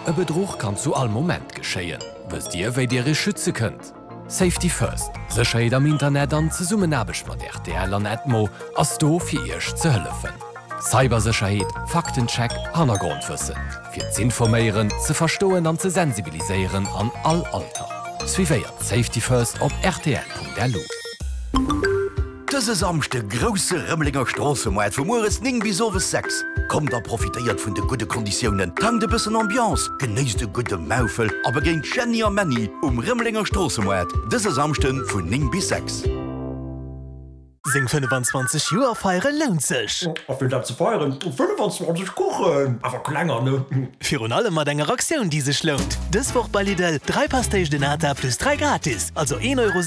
E Bedruch kann zu all Moment geschéien. Wësst Dir, wéi Dir Iech schütze kënnt? Safety First, Sécherheet am Internet an Zesummenaarbecht mat rtl an Edmo ass do fir Iech ze hëllefen. Cybersécherheet, Faktencheck, Hannergrondwëssen. Fir z'informéieren, ze verstoen an ze sensibiliséieren an all Alter. Suivéiert Safety First op rtl.lu. Dëse Samschde grousse Rëmelenger Stroossemaart vu mueres 9 bis owes 6. Kommt a profitéiert vun de gudde Konditiounen, tankt e bëssen Ambiance, genéisst e gudde Maufel a begéint Jeanny a Männy um Rëmelenger Stroossemaart dëse Samschde vun 9 bis 6. Seng 25 Joer feiere lount sech! A fir dat ze feieren, 25 Kuchen, awer klenger, ne? Virun allem mat enger Aktioun déi sech lount! Dës Woch bei Lidl, 3 Pastéis de Nata plus 3 gratis, also 1,47 Euro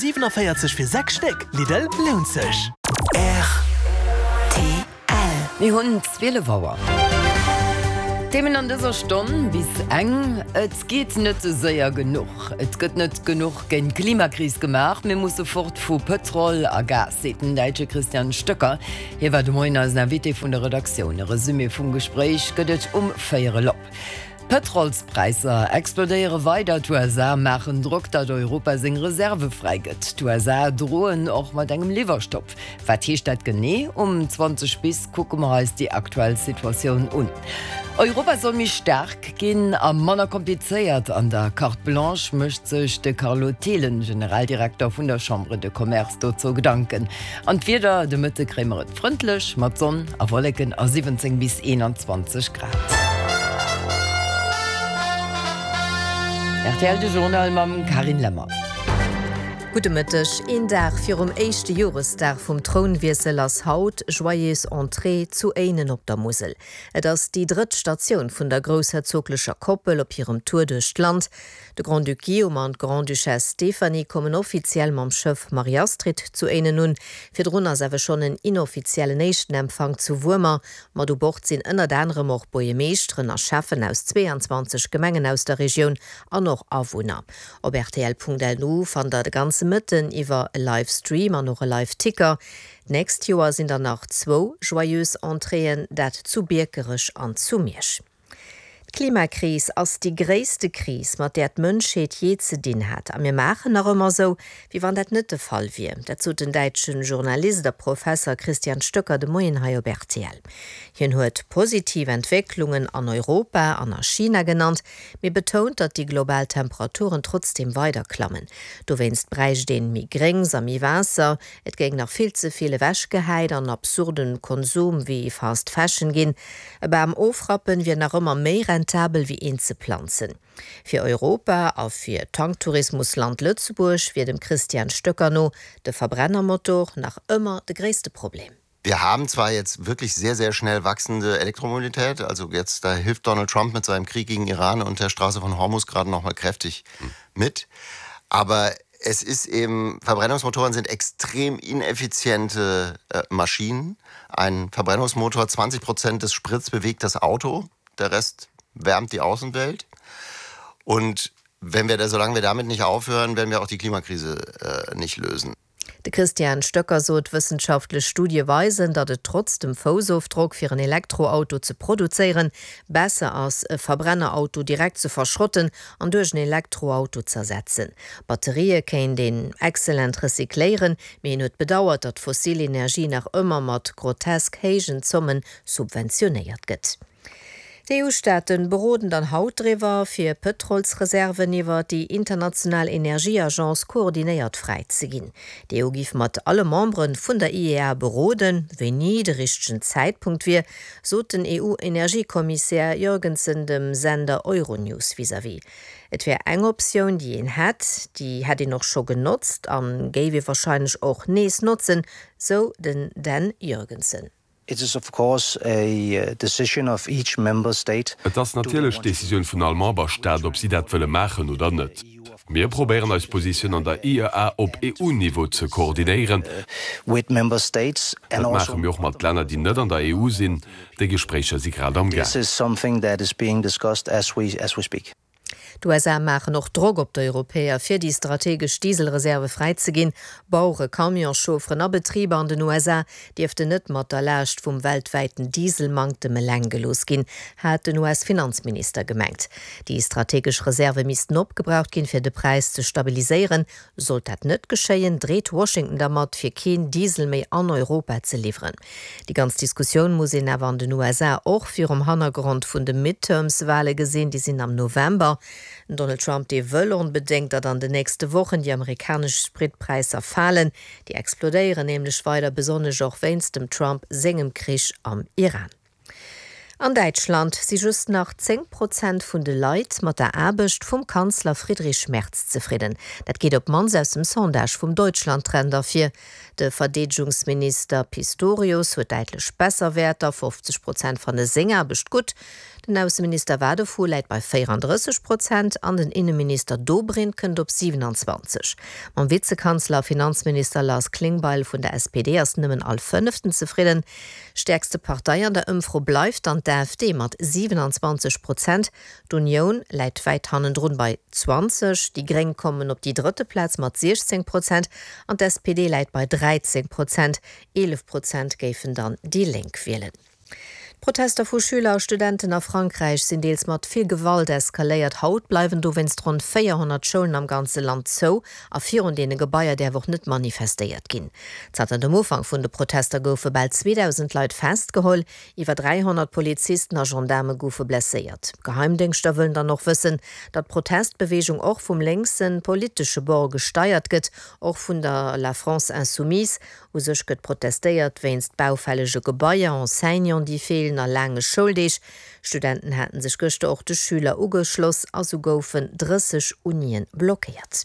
fir 6 Stéck! Lidl, lount sech! Rtl. Mir hunn 12 Auer. D'Themen an dëser Stonn bis eng, Et geet net séier genuch, et gëtt net genuch géint d'Klimakris gemaach, mir musse fort vu Pëtrol a Gas, seet den Däitsche Christian Stöcker. Hie war de Moien eisen Invité vun der Redaktioun. E Resumé vum Gespréich gëtt et um véierel op. D'Pëtrolspräisser explodéiere weider, d'USA maachen Drock, datt Europa seng Reserve fräigëtt. D'USA droen och mat engem Liwwerstopp. Wat heescht dat genee? Um 20 bis kucke mer eis déi aktuell Situatioun un. Europa soll méi staark ginn a manner komplizéiert. An der Carte Blanche mécht sech de Carlo Thelen, Generaldirekter vun der Chambre de Commerce, dozou Gedanken. An d'Wieder, De Mëtte kréie mer et frëndlech mat Sonn a Wolleken a 17 bis 21 Grad. Rtl De Journal mam Carine Lemmer. Gudde Mëtteg. Een Dag virum éischte Joresdag vum Trounwiessel ass haut Joyeuse Entrée zu Éinen op der Musel. Et ass déi drëtt Statioun vun der groussherzoglecher Koppel op hirem Tour duerch d'Land. De Grand-Duc Guillaume an d'Grande-Duchesse Stéphanie kommen offiziell mam Schëff Marie-Astrid zu Éinen un. Virdrun ass awer schonn en inoffiziellen éischten Empfang zu Wuermer. Mat u Bord sinn ënnert anerem och Buergemeeschteren a Schäffen aus 22 Gemengen aus der Regioun an och Awunner. Op rtl.lu fannt der de ganze Mëtten iwwer e Live-Stream an och e Live-Ticker. D'nächst Joer sinn der nach zwou Joyeuse Entréeën, dat zu Biekerech an zu Miersch. D'Klimakris ass déi gréisste Kris, mat där d'Mënschheet jee ze dinn hat. A mir maachen nach ëmmer esou, wéi wann dat net de Fall wier. Dat sot den däitsche Journalist a Professer Christian Stöcker de Moien hei op rtl. Hien huet positiv Entwécklungen an Europa an a China genannt, mee betount, datt déi global Temperaturen trotzdeem weider klammen. Dowéinst bräicht een méi Gréngs a méi Waasser. Et géing nach vill ze vill ewechgehäit an absurden Konsum wéi Fast Fashion ginn. E Bam ofrappen wier nach ëmmer méi rentabel wéi een ze planzen. Fir Europa a fir d'Tanktourismusland Lëtzebuerg wier dem Christian Stöcker no de Verbrennermotor nach ëmmer de gréisste Problem. Wir haben zwar jetzt wirklich sehr, sehr schnell wachsende Elektromobilität, also jetzt da hilft Donald Trump mit seinem Krieg gegen Iran und der Straße von Hormuz gerade noch mal kräftig mit. Aber es ist eben Verbrennungsmotoren sind extrem ineffiziente äh, Maschinen. Ein Verbrennungsmotor 20 Prozent des Spritz bewegt das Auto, der Rest wärmt die Außenwelt. Und wenn wir da, solange wir damit nicht aufhören, werden wir auch die Klimakrise äh, nicht lösen. De Christian Stöcker sot, wëssenschaftlech Studie weisen, datt et trotz dem Foussofdrock fir en Elektroauto ze produzéieren, besser ass, e Verbrennerauto direkt ze verschrotten an duerch en Elektroauto z'ersetzen. Batterië kéint een excellent recycléieren, mee hien huet bedauert, datt fossil Energie nach ëmmer mat grotesk héijen Zomme subventionéiert gëtt. D'EU-Staate beroden dann haut driwwer, fir Pëtrolsreserven iwwer déi international Energieagence koordinéiert fräi ze ginn. D'EU giff mat alle Membere vun der IEA beroden, wéini de richtegen Zäitpunkt wier, sot den EU-Energiekommissär Jørgensen dem Sender Euronews vis-à-vis. Et wär eng Optioun, déi een hätt, déi hätt een och scho genotzt a géif ee warscheinlech och nees notzen, sou den Dan Jørgensen. It is of course a decision of each member state. Et ass natierlech d'Decisioun vun all Memberstaat, ob si dat wëlle maachen oder net. Mir probéieren eis Positioun an der IEA op EU-Niveau ze koordinéieren. Dat maache mir och mat Länner, déi net an der EU sinn. Déi Gespréicher si grad am Gaang. D'USA maachen och Drock op d'Europäer, fir déi strategesch Dieselreserve fräizeginn. Bauere, Camionschaufferen a Betriber an den USA dierften net mat der Laascht vum weltwäiten Dieselmanktem eleng gelooss ginn, hat den US-Finanzminister gemengt. Déi strategesch Reserve missten opgebraucht ginn, fir de Präis ze stabiliséieren. Sollt dat net geschéien, dreet Washington dermat, fir keen Diesel méi an Europa ze liwweren. Déi ganz Diskussioun muss een awer an den USA och virum Hannergrond vun de Midterms-Wale gesinn, déi sinn am November. Den Donald Trump, dee wëll onbedéngt, datt an den nächste Wochen déi amerikanesch Spritpräisser falen. Déi explodéieren nämlech weider, besonnesch och wéinst dem Trump sengem Krich am Iran. An Däitschland si just nach 10 Prozent vun de Leit mat der Aarbecht vum Kanzler Friedrich Merz zefridden. Dat geet op d'mannst aus dem Sondage vum Deutschlandtrend ervir. De Verdeedegungsminister Pistorius huet däitlech besser Wäerter, 50 Prozent fanne seng Aarbecht gutt. Den Ausseminister Wadephul läit bei 34 Prozent an den Inneminister Dobrindt kënnt op 27. Mam Vizekanzler a Finanzminister Lars Klingbeil vun der SPD ass nëmmen all Fënneften zefridden. Stäerkste Partei an der Ëmfro bleift dann d'AfD mat 27 Prozent. D'Unioun läit wäit hannendrun bei 20, déi Gréng kommen op déi drëtte Plaz mat 16 Prozent an d'SPD läit bei 13 Prozent. 11 Prozent géifen dann déi Lénk wielen. D'Protester vu Schüler a Studenten a Frankräich sinn deels mat vill Gewalt eskaléiert. Haut bleiwen dowéinst ronn 400 Schoulen am ganze Land zou a virun deene Gebaier däerf och net manifestéiert ginn. Zanter dem Ufank vun de Protester goufe bal 2.000 Leit festgeholl, iwwer 300 Polizisten a Gendaarme goufe blesséiert. D'Geheimdéngschter wëllen dann och wëssen, datt d'Protestbeweegung och vum lénkse politesche Bord gesteiert gëtt, och vun der La France Insoumise. U sech gëtt protestéiert wéinst baufällege Gebaier, Enseignanten, déi feelen a laange Schouldeeg. Studenten haten sech gëschter och de Schüler ugeschloss a sou goufen 30 Unien blockéiert.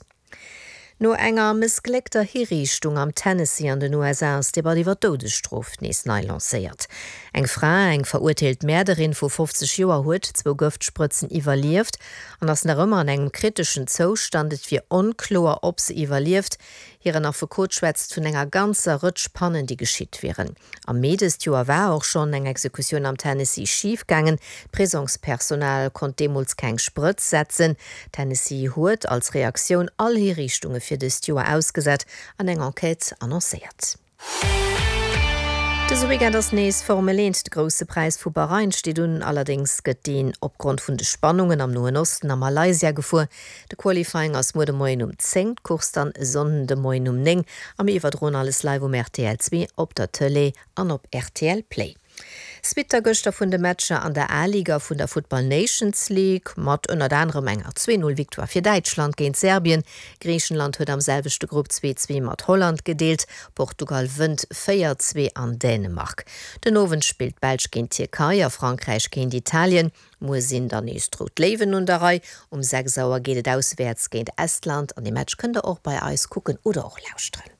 No enger mëssgléckter Hiriichtung am Tennessee an den USA ass d'Debatt iwwer d'Doudesstrof nees nei lancéiert. Eng Fra, eng verurteelt Mäerderin vu 50 Joer, huet zwou Gëftsprëtzen iwwerlieft an ass nach ëmmer an engem kriteschen Zoustand. Et wier onkloer, ob se iwwerlieft. Hiren Affekot schwätzt vun enger ganzer Rëtsch Pannen, déi geschitt wieren. Am Mee dëst Joer war och schonn eng Exekutioun am Tennessee schif gaangen. D'Prisongspersonal konnt deemools keng Sprëtz setzen. Tennessee huet als Reaktioun all Hiriichtunge fir dëst Joer ausgesat an eng Enquête annoncéiert. Dëse Weekend ass nees Formel 1, de Grousse Präis vu Bahrain steet un. Allerdéngs gëtt deen opgrond vun de Spannungen am Noen Osten a Malaysia gefuer. De Qualifying ass muer de Moien um 10, d'Course dann e Sonnden de Moien um 9 a mir iwwerdroen alles live um rtl 2, op der Tëlee an op rtl Play. Suite da gëschter vun de Matcher an der A-Liga vun der Futtball Nations League, mat ënnert anerem enger 2, 0 Victoire fir Däitschland géint Serbien. Griichenland huet am selwechte Grupp 2, 2 mat Holland gedeelt. Portugal wënnt 4, 2 an Dänemark. Den Owend spillt d'Belsch géint d'Tierkei a Frankräich géint Italien. Muer sinn dann nees d'Rout Léiwen un der Rei. Um 6 Auer geet et auswäerts géint Estland an dee Match kënnt der och bei eis kucken oder och lauschteren.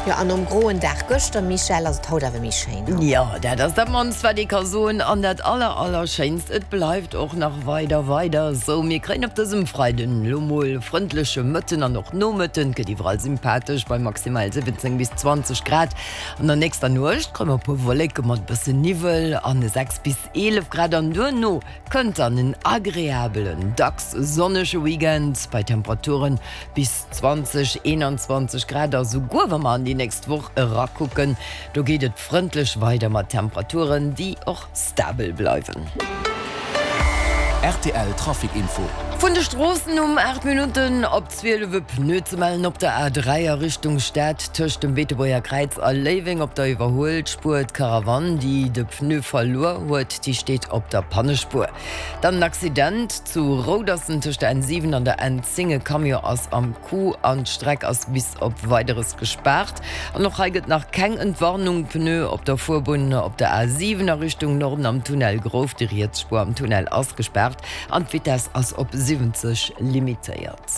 Jo, an nom groen Dag gëschter, Michèle, ass et haut awer méi schéin, ha? Jo, dat ass dat mannst wat ee ka soen an dat aller aller schéinst, et bleift och nach weider weider esou. Mir kréien op dësem Freiden elo mol frëndleche Mëtten an och Nomëtten, et gëtt iwwerall sympathesch bei maximal 17 bis 20 Grad. An der nächster Nuecht kréie mer e puer Wolleke mat e bëssen Niwwel an 6 bis 11 Grad an duerno kënnt dann en agreabelen, dacks sonnege Weekend bei Temperaturen bis 20, 21 Grad a souguer wa mer an déi nächst Woch erakucken, do geet et frëndlech weider mat Temperaturen, déi och stabel bleiwen. Rtl Trafic Info. Vun de Stroossen um 8 Minutten op 12 e Pneu ze mellen op der A3 a Richtung Stad tëscht dem Beetebuerger Kräiz a Léiweng op der Iwwerhuelspuer. D'Karawann, déi de Pneu verluer huet, déi steet op der Pannespuer. Dann en Accident zu Roudersen tëscht der N7 an der N10. E Camion ass am Coup an d'Streck ass bis op Weideres gespaart. An och hei gëtt nach keng Entwarnung. Pneu op der Fuerbunn op der A7 a Richtung Norden am Tunnel Grouft. Déi riets Spuer am Tunnel ass gespaart an d'Vitess ass op 70 limitéiert.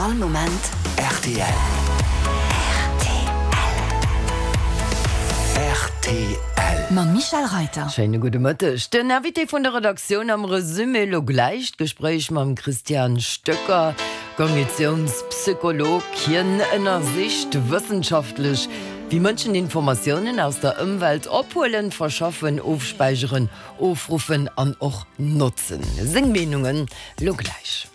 All Moment rtl. Rtl. Mam Michèle Reiter. Schéine gudde Mëtteg. Den Invité vun der Redaktioun am Resumé elo gläich d'Gespréich mam Christian Stöcker. Kognitionspsycholog, hien ënnersicht wëssenschaftlech. Wéi Mënschen Informatiounen aus der Ëmwelt ophuelen, verschaffen, ofspäicheren, ofruffen an och notzen. Seng Meenungen lo gläich.